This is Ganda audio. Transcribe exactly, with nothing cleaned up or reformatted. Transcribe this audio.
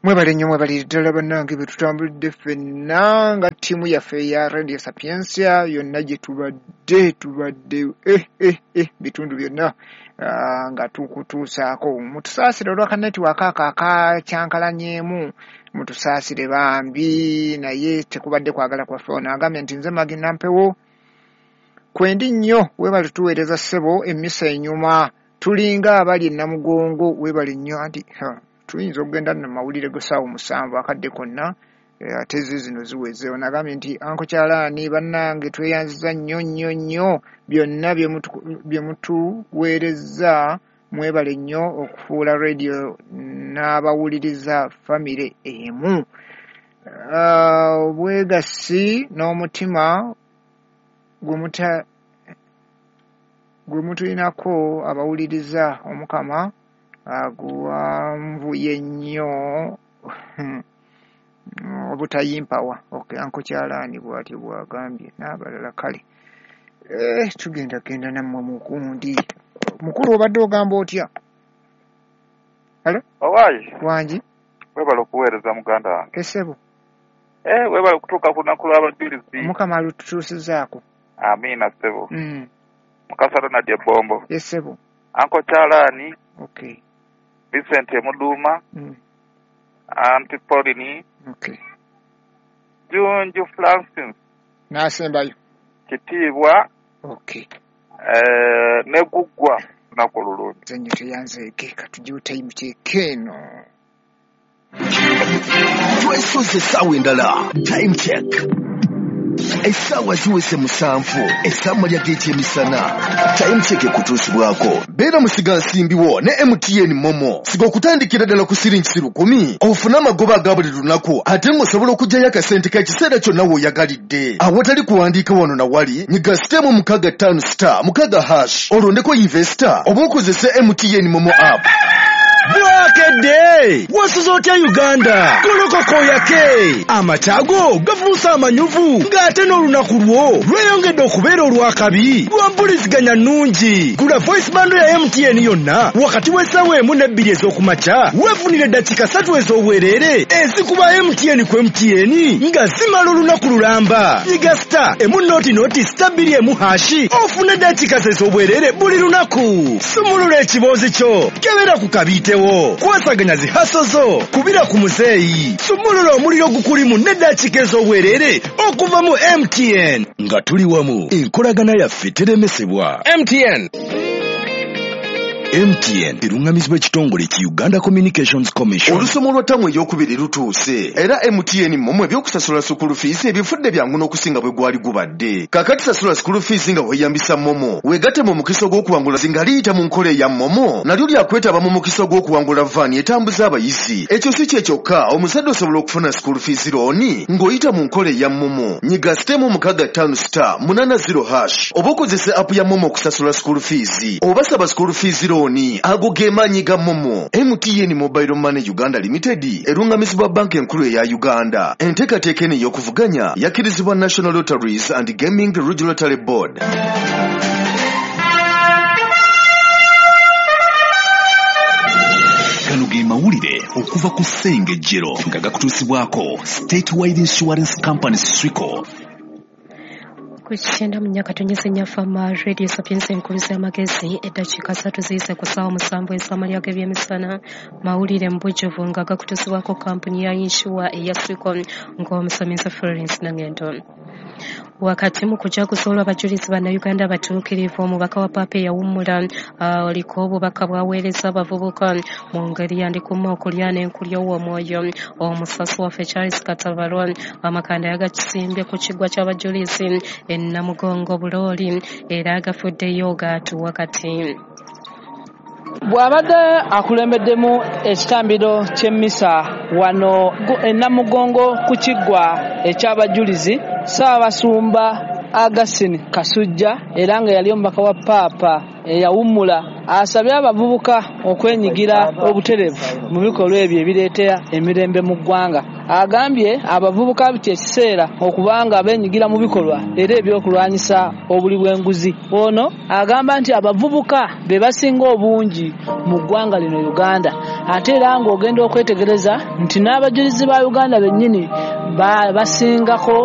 Mwebale nnyo, mwebalire ddala bannange be tutambulidde ffenna nga ttiimu yaffe eya Radio Sapientia yonna gye tubadde tubadde eh, eh, eh, bitundu byonna uh, nga tukutuusaako. Mutusaasire olwa netiwaaka ako akakyankalanyeemu, mutusaasire bambi, naye tekubadde kwagala kwaffe. Ono agambye nti nze Magi Nampewo kwendi nnyo, weebale tuweereza ssebo, emmisa enyuma tulinga abali e Namugongo, weebale nnyo. Anti tuyinza okugenda nno mawulire g'essaawa musanvu akadde konna, ate zo zino ziweze. Ono agambye nti Anko Kyalaani bannange tweyanziza nnyo nnyo nnyo byonna bye mutuweereza, mwebale nnyo okufuula radio n'abawuliriza famire emu. Obwegassi n'omutima gwe mutulinako abawuliriza Omukama aguwanvuye nnyo obutayimpawa. Okay, Anko Kyalaani bw'atyo bw'agambye n'abalala. Kale eh, tugenda genda nammwe mukundi mukulu, obadde ogamba otya? Halo? Owaayi. Wangi? Weebale okuweereza muganda wange. Essebo. Eh, weebale okutuuka ku lunaku lw'abajulizi. Omukama alututuusizaako. Amiina ssebo. Mm. Mukasa Ronald Ebombo. Essebo. Anko Kyalaani. Okay. Vincent Emuduuma. Mm. Auntie Pauline. Okay. Junju Francis. N'asembayo. Kitiibwa. Okay. Eh, ne Guggwa lunaku olulungi. Nze nnyo teyanzeeke, katugiwe time check eno. Twesoze essaawa endala, time check. Essaawa ziweze musanvu, essaawa g'ekyemisana. Time check ekutuusibwako. Beera musigansimbi wo ne M T N Momo. Siga okutandikira ddala ku siringi lukumi, ofune amagoba aga buli lunaku, ate ng'osobola okuggyayo akasente k'ekiseera kyonna w'oyagalidde. Awatali kuwandiika wano na wali, nyiga sitemu mukaaga ttaano star mukaaga hash, olondeko investor oba okozese M T N Momo app. Bwakedde! Wasuze otya Uganda? Golokoko yake! Amataago gafuuse amanyuvu ng'ate n'olunaku lwo lweyongedde okubeera olw'akabi lwa mpuliziganya nnungi. Gula voice bundle ya M T N yonna wakati w'essaawa emu n'ebbiri ez'okumakya weefunire eddakiika ssatu ez'obwereere ezikuba M T N ku M T N nga zimala olunaku lulamba. Nyiga star emu noti noti star bbiri emu hashi ofune eddakiika ez'obwereere buli lunaku. Sumulula ekiboozi kyo, kebera ku kabiitewo, kwasaganya zihaso zo, kubira ku muzeeyi, sumulula omuliro gukulimu n'eddakiika ez'obwereere okuva mu M T N. Nga tuli wamu, enkolagana yaffe teremesebwa. M T N. M T N erungamizibwa ekitongole ki Uganda Communications Commission. Olusomo lwa ttamu ey'okubiri lutuuse era M T N Momo ebyokusasula school fees ebifudde byangu n'okusinga bwe gwali gubadde. Kaakati sasula school fees nga weeyambisa Momo, weegatte mu mukisa ogw'okuwangula nga liyita mu nkola eya Momo, nalyo lyakwetaba mu mukisa ogw'okuwangula vaani etambuza abayizi. Ekyo si kye kyokka, omuzadde osobola okufuna school fees loan ng'oyita mu nkola eya Momo. Nyiga sitemu mukaaga ttaano star munaana zero hash oba okozese app ya Momo okusasula school fees oba saba school fees loan. Ago ge maanyi ga Momo. M T N Mobile Money Uganda Limited erungamizibwa banka enkulu eya Uganda. Enteekateeka eno ey'okuvuganya yakkirizibwa National Lotteries and Gaming Regulatory Board. Gano ge mawulire okuva ku Ssengejjero nga gakutuusibwako Statewide Insurance Company Swico. Ku kyenda mu nnya katonyeze nnya Fama Radio Sapientia enkuluzi y'amagezi, eddakiika ssatu ziyise ku ssaawa musanvu ez'amalya g'ebyemisana. Mawulire mu bujjuvu nga gakutuusibwako kampuni ya yinsuwa eya Swico ng'omusomesa Florence Nangendo. Wakati mu kujaguza olw'abajulizi bannayuganda abatuukirivu, omubaka wa Paapa eyawummula oliko obubaka bw'aweereza abavubuka mu ngeri yandikuma okulya n'enkulya ow'omwoyo. Omusasi waffe Charles Katabalwa amakanda yagakisimbye ku kiggwa ky'abajulizi e Namugongo Bulooli era agafuddeyo gaatuwa kati. Bw'abadde akulembeddemu ekitambiro ky'emmisa wano e Namugongo ku kiggwa eky'abajulizi, Ssaabasumba Augustine Kasujja era nga yali omubaka wa Paapa eyawummula asabye abavubuka okwenyigira obutereevu mu bikolwa ebyo ebireetera emirembe mu ggwanga. Agambye abavubuka kyekiseera okubanga benyigira mu bikolwa era ebyokulwanyisa obuli bw'enguzi. Ono agamba nti abavubuka be basinga obungi mu ggwanga lino Uganda, ate era ng'ogenda okwetegereza nti n'abajulizi ba Uganda bennyini basingako.